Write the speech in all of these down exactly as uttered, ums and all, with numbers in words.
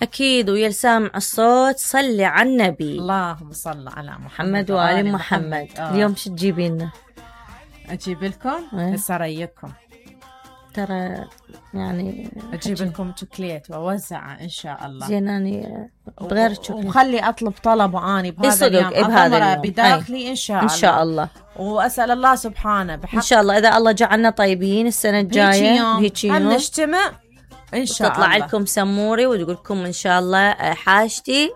أكيد. ويا سامع الصوت صلي على النبي. اللهم صل على محمد, محمد وآل محمد, محمد. آه. اليوم شو تجيبي لنا؟ أجيب لكم هسه رأيكم ترى يعني أجيب لكم شوكليت وأوزعه إن شاء الله. زين أنا بغير شوكليت وخلي أطلب طلب وأني بهذا اليوم أثمره بداخلي إن شاء الله. إن شاء الله. وأسأل الله سبحانه بحق إن شاء الله إذا الله جعلنا طيبين السنة الجاية هيك يوم هم نجتمع إن شاء الله. تطلع لكم سموري وتقول لكم إن شاء الله حاجتي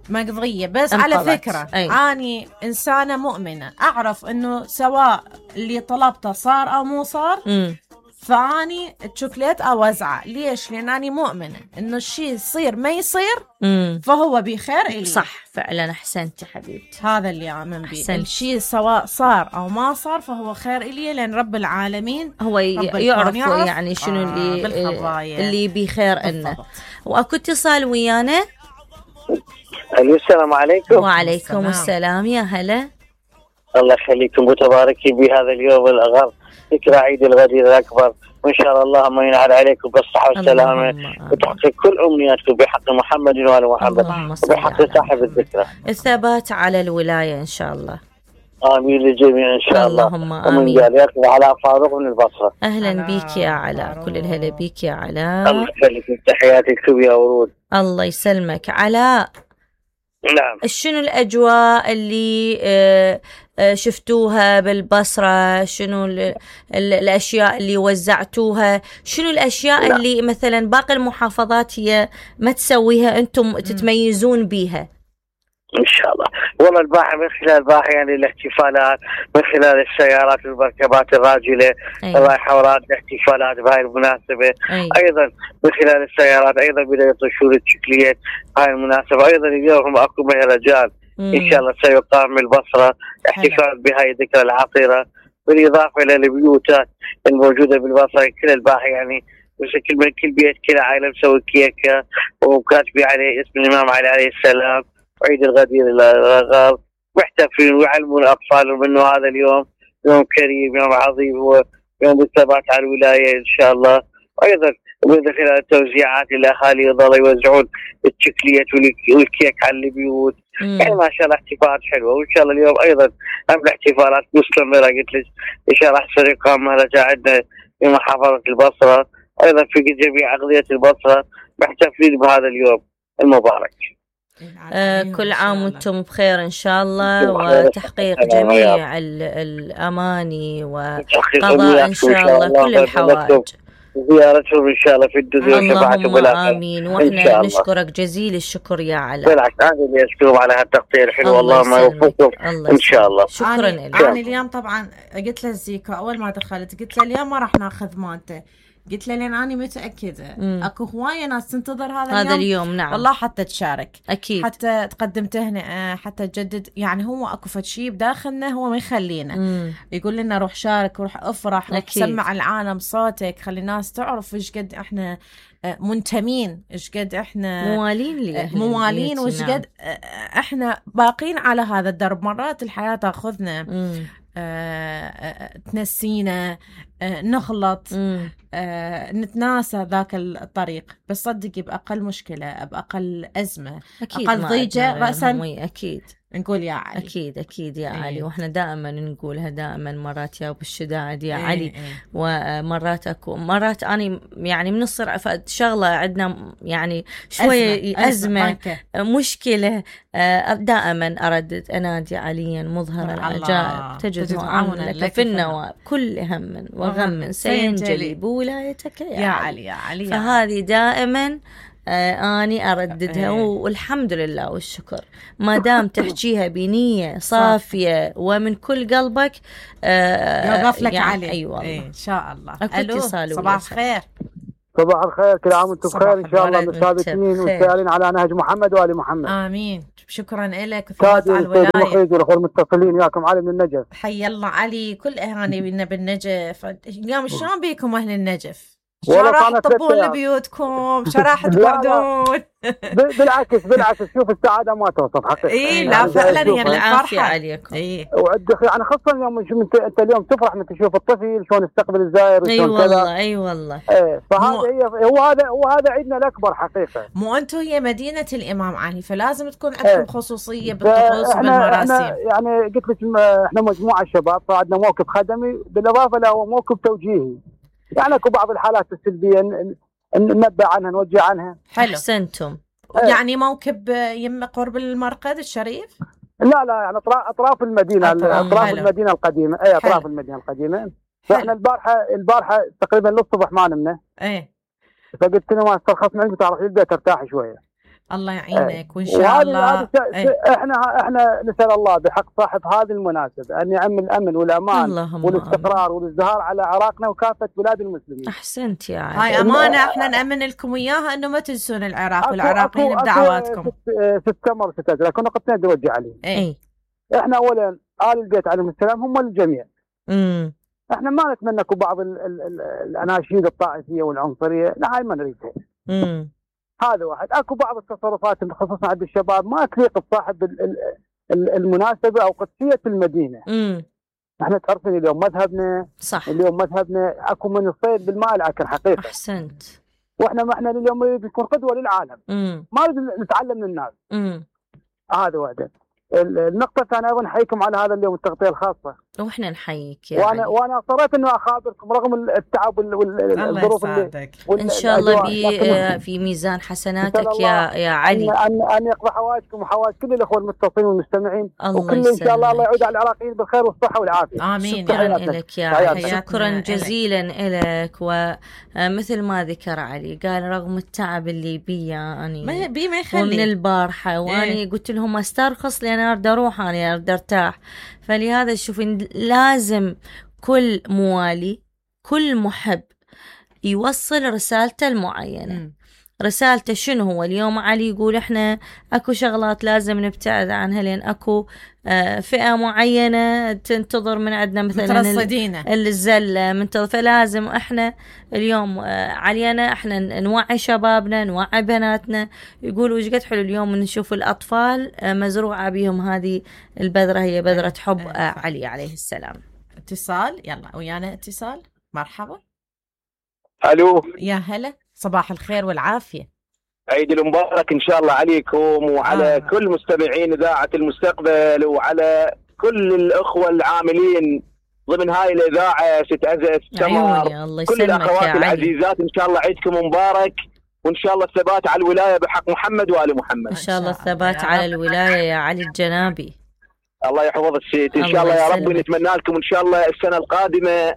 مقضية. بس على فكرة أي. أني إنسانة مؤمنة أعرف إنه سواء اللي طلبته صار أو مو صار م. فاني الشوكليت اوزعه. ليش؟ لان اني مؤمنه انه الشيء يصير ما يصير مم. فهو بخير إلي. صح فعلا. احسنتي حبيبتي. هذا اللي اؤمن به. الشيء سواء صار او ما صار فهو خير إلي لان رب العالمين هو يعرف, يعرف يعني شنو آه اللي اللي بخير لنا. واكو اتصال ويانا. السلام عليكم. وعليكم السلام, السلام. يا هلا. الله يخليكم وتباركي بهذا اليوم الأغر ذكرى عيد الغدير الأكبر، وإن شاء الله ما ينعاد عليكم بالصحة والسلامة وتحقق كل أمنياتكم بحق محمد وآل محمد وبحق صاحب الذكرى. الثبات على الولاية إن شاء الله. آمين للجميع إن شاء الله. اللهم آمين. ومن جاليات علاء فاروق من البصرة. أهلا بيك يا علاء. كل الهلا بيك يا علاء. الله يخليك. تحياتي لكم يا ورود. الله يسلمك علاء. نعم. شنو الأجواء اللي آه شفتوها بالبصرة؟ شنو ال ال الأشياء اللي وزعتوها؟ شنو الأشياء لا. اللي مثلا باقي المحافظات هي ما تسويها أنتم تتميزون بيها؟ إن شاء الله. والله الباحة من خلال الباحة يعني الاحتفالات من خلال السيارات والمركبات الراجلة الرايحة وراء الاحتفالات بهاي المناسبة. أي. أيضا من خلال السيارات أيضا بدأ يطشون الشكليات هاي المناسبة. أيضا اليوم أكو مهرجان إن شاء الله سيقام بالبصرة احتفال بهاي الذكرى العطيرة بالإضافة إلى البيوتات الموجودة بالبصرة. كل الباحة يعني كل كل بيت كل عائلة مسوي كيكة وكاتبين عليه اسم الإمام علي عليه السلام وعيد الغدير الأغر محتفلين ويعلمون أطفالهم إنه هذا اليوم يوم كريم يوم عظيم هو يوم الثبات على الولاية إن شاء الله. وأيضا من خلال التوزيعات الأهالي يظلوا يوزعون الشكليات والكيك على البيوت. يعني ما شاء الله احتفالات حلوة وإن شاء الله اليوم أيضا هم الاحتفالات مستمرة. قلت لك إن شاء الله راح يقام مهرجان عندنا في محافظة البصرة أيضا في جميع أغذية البصرة محتفلين بهذا اليوم المبارك. آه كل عام وانتم بخير إن شاء الله وتحقيق جميع الأماني وقضاء إن شاء الله كل الحوائج. زيارتهم إن شاء الله في الدنيا وشفاعتهم بالآخرة. آمين. وإحنا نشكرك جزيل الشكر يا علاء. بالعكس أنا اللي أشكرهم على هالتقدير الحلو. والله ما يوفقكم إن شاء الله. شكرا لك. أنا اليوم طبعا قلت له زيكو أول ما دخلت قلت له اليوم ما راح ناخذ مالته. قلت له لين أنا متأكدة مم. أكو هواية ناس تنتظر هذا, هذا اليوم. اليوم نعم. والله حتى تشارك أكيد. حتى تقدم تهنئة حتى تجدد. يعني هو أكو فشي بداخلنا هو ما يخلينا مم. يقول لنا روح شارك وروح افرح وروح سمع العالم صوتك خلي الناس تعرف إيش قد إحنا منتمين إيش قد إحنا موالين لي موالين وإيش قد إحنا باقين على هذا الدرب. مرات الحياة تأخذنا مم. آه، تنسينا آه، نغلط آه، نتناسى ذاك الطريق. بس صدقي بأقل مشكلة بأقل أزمة أكيد أقل ضيجة رأسا أكيد نقول يا علي. أكيد أكيد يا أيه. علي. وإحنا دائما نقولها دائما مرات يا أبو الشداد يا أيه علي أيه. ومرات أكو مرات أنا يعني بنصر شغلة عندنا يعني شوية أزمة, أزمة, أزمة مشكلة دائما أردد أنادي عليا مظهر العجائب تجد معاونة لك في النواب كل هم وغم سينجلي بولايتك يا, يا علي يا علي. فهذه دائما آه أني أرددها. والحمد لله والشكر ما دام تحكيها بنية صافية ومن كل قلبك آه يوقف لك يعني علي. أي والله إيه إن شاء الله. ألو صباح الخير. صباح الخير كل عام وانتم بخير إن شاء الله متثابتين وسائرين على نهج محمد وآل محمد. آمين. شكرا لك وثبات على الولاية. والأخوة المتصلين وياكم علي من النجف. حي الله علي كل أهاني بنا بالنجف. اليوم شلون بيكم أهل النجف؟ شراح تطبون لبيوتكم، شراح تقعدون. بالعكس بالعكس شوف السعاده ما توصف حقيقه. اي لا فعلا هي العافيه عليكم. اي وعندك يعني خصوصا يوم انت انت اليوم تفرح من تشوف الطفل شلون يستقبل الزائر اي والله اي والله. ايه فهذا هي هو هذا هو هذا عيدنا الاكبر حقيقه. مو انتم هي مدينه الامام علي فلازم تكون عندكم ايه. خصوصيه بالطقوس وبالمراسم. يعني قلت لك احنا مجموعه شباب فعندنا موقف خدمي بالاضافه له موقف توجيهي. يعني اكو بعض الحالات السلبيه ننبه عنها نوجه عنها. حلو احسنتم. يعني موكب يم قرب المرقد الشريف؟ لا لا يعني اطراف اطراف المدينه اطراف حلو. المدينه القديمه اي اطراف حلو. المدينه القديمه. فاحنا البارحه البارحه تقريبا للصبح ما نمنا. ايه فقلت له ما استرخص معك تعرف البيت ترتاح شويه. الله يعينك وان شاء الله. ايه. احنا احنا نسال الله بحق صاحب هذه المناسبه ان يعم الامن والامان والاستقرار والازدهار على عراقنا وكافه بلاد المسلمين. احسنت يا عادل. هاي امانه احنا نامن لكم اياها انه ما تنسون العراق والعراقيين بدعواتكم. ست تمر ست ازرق كنا قد نوجه عليهم. اي احنا اولا ال البيت عليهم السلام هم للجميع. امم احنا ما نتمنى بعض ال ال ال الاناشيد الطائفيه والعنصريه، لا هاي ما نريدها. امم هذا واحد. اكو بعض التصرفات خصوصا عند الشباب ما تليق بصاحب المناسبه او قدسيه المدينه. امم احنا تعرفين اليوم مذهبنا صح. اليوم مذهبنا اكو من الصيد بالماء العكر حقيقه. احسنت. واحنا ما احنا اليوم نريد نكون قدوه للعالم. امم ما نريد نتعلم من الناس. امم هذا واحد. النقطة الثانية أيضا نحييكم على هذا اليوم التغطية الخاصة. واحنا نحييك يا وأنا علي. وأنا اصريت إنه أخابركم رغم التعب والظروف اللي إن شاء الله بي في ميزان حسناتك يا يا علي. أن أن يقضي حوائجكم وحوائج كل الأخوة المتصلين والمستمعين. وكل يسلمك. إن شاء الله الله يعود على العراقيين بالخير والصحة والعافية. آمين. شكرا لك يا علي. شكرا جزيلا لك. ومثل ما ذكر علي قال رغم التعب اللي بي يعني ما بي ما يخلي ومن البارحة وأنا إيه؟ قلت لهم استرخص لأن أرد أروح أنا أرد أرتاح. فلهذا شوفين لازم كل موالي كل محب يوصل رسالته المعينة. م. رسالته شنو هو اليوم؟ علي يقول احنا اكو شغلات لازم نبتعد عنها لان اكو آه فئة معينة تنتظر من عندنا مثلا الزلة منتظر. فلازم احنا اليوم آه علينا احنا نوعي شبابنا نوعي بناتنا. يقولوا ايش قد حلو اليوم نشوف الاطفال آه مزروعة بهم هذه البذرة هي بذرة حب آه علي عليه السلام. اتصال يلا ويانا اتصال. مرحبا. الو يا هلا صباح الخير والعافية. عيد المبارك إن شاء الله عليكم وعلى آه. كل مستمعين إذاعة المستقبل وعلى كل الأخوة العاملين ضمن هاي الإذاعة ست عزة سمر. كل الأخوات العزيزات إن شاء الله عيدكم مبارك وإن شاء الله الثبات على الولاية بحق محمد وآل محمد. إن شاء الله الثبات على الولاية يا علي الجنابي. الله يحفظك سيد. إن شاء الله يا رب نتمنى لكم إن شاء الله السنة القادمة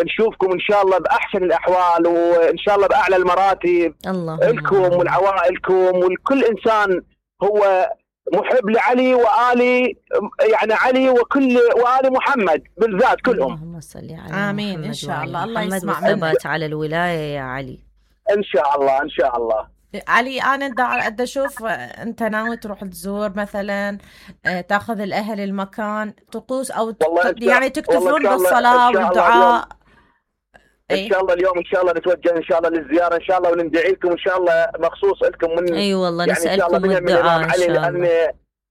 نشوفكم إن شاء الله بأحسن الأحوال وإن شاء الله بأعلى المراتب لكم ولعوائلكم ولكل إنسان هو محب لعلي وآل يعني علي وكل وآل محمد بالذات كلهم. اللهم صل على آمين إن شاء الله. الله يسمع منك. على الولاية يا علي إن شاء الله إن شاء الله. علي أنا دا أشوف أنت ناوي تروح تزور مثلا تأخذ الأهل المكان طقوس أو يعني تكتفون بالصلاة والدعاء. ان شاء الله اليوم ان شاء الله نتوجه ان شاء الله للزياره ان شاء الله ونندعي لكم ان شاء الله مخصوص لكم من اي أيوة والله يعني نسالكم الدعاء ان شاء الله. لان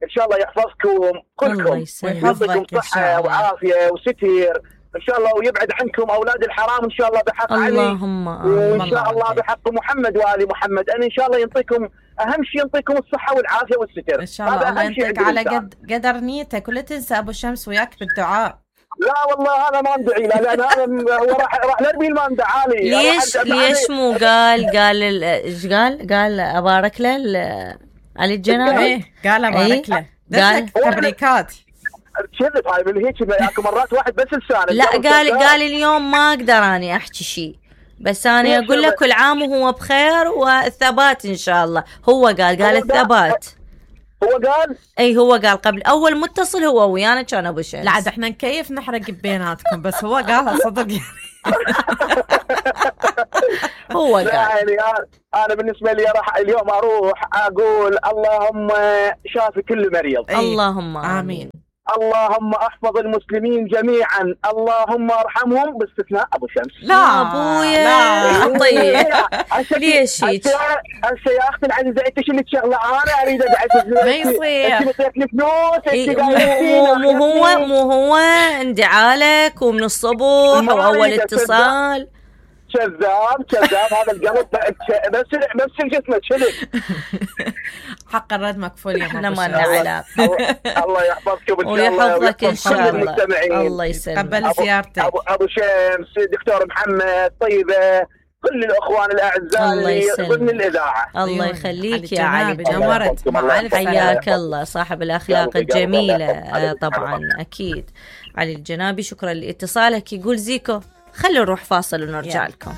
ان شاء الله يحفظكم كلكم ويحفظكم صحه وعافيه وستير ان شاء الله ويبعد عنكم اولاد الحرام ان شاء الله بحق علي. اللهم وان شاء الله بحق محمد وآل محمد ان ان شاء الله ينطيكم اهم شيء ينطيكم الصحه والعافيه والستر ان شاء الله. الله ينطيك على قد قدر نيتك ولا تنسى ابو شمس وياك بالدعاء. لا والله انا ما ندعي له لان انا راح راح نرمي ما ندعى لي. ليش ليش مو قال قال ايش قال قال ابارك له علي الجنابي. ايه قال ابارك له قال تبريكات شلت هاي من هيك اكو مرات واحد بس لسانه. لا قال قال اليوم ما اقدر اني احكي شيء بس انا اقول لك كل عام وهو بخير والثبات ان شاء الله. هو قال قال الثبات. هو قال اي هو قال قبل اول متصل هو ويانا كان ابو شمس. لا عاد احنا نكيف نحرق بيناتكم بس هو قالها صدق يعني. هو قال يعني انا بالنسبه لي راح اليوم اروح اقول اللهم شافي كل مريض. اللهم امين. اللهم احفظ المسلمين جميعا، اللهم ارحمهم باستثناء ابو شمس. لا ابويا طيب ليش هيك؟ هسه يا اختي العزيزه انت شو اللي شغله انا اريد ادعس ما يصير انت بتاكلي فلوس. مو هو مو هو اندعالك ومن الصبح واول اتصال. كذاب كذاب هذا القلب بس بس الجسم شلك. حق الرد مكفول يا احنا ما لنا علاقه. الله يحفظكم ويحفظك ان شاء الله. الله يسلمك. قبل زيارتك ابو, أبو شمس، دكتور محمد، طيبه، كل الاخوان الاعزاء اللي ضمن الاذاعه. الله يخليك يا علي، نورت معك. حياك الله صاحب الاخلاق الجميله. طبعا اكيد علي الجنابي، شكرا لاتصالك. يقول زيكو خلوا نروح فاصل ونرجع لكم.